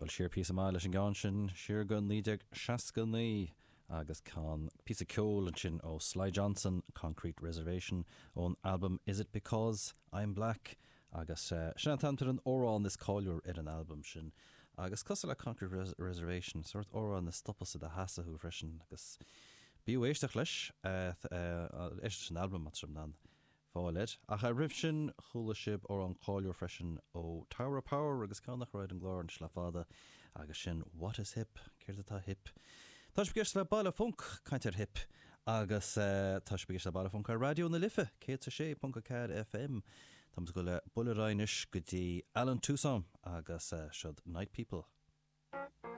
Dul siar píosa maith leis an gceann sin, siar go 1969 agus ceann, píosa ceoil ansin ó Sly Johnson, Concrete Reservation, ón albam Is It Because I'm Black agus sin an t-ainm ar an amhrán is cáiliúil ar an albam sin. Agus cosúil le Concrete Reservation, sórt amhrán a stopas i do sheasamh thú freisin agus b'fhiú éisteacht leis, éisteacht leis an albam má tá sibh in ann fáil air. Ach roimh sin, chuala sibh amhrán cáiliúil freisin ó Tower of Power agus ceann nach raibh ar an gclár anois le fada, agus sin What is Hip? Céard atá hip? Tá sibh ag éisteacht le Baile Func, caint ar hip, agus tá sibh ag éisteacht le Baile Func ar Raidió na Life, 106.4 FM. Táimid ag dul le buille ar aghaidh anois go dtí Allen Toussaint agus seod Night People.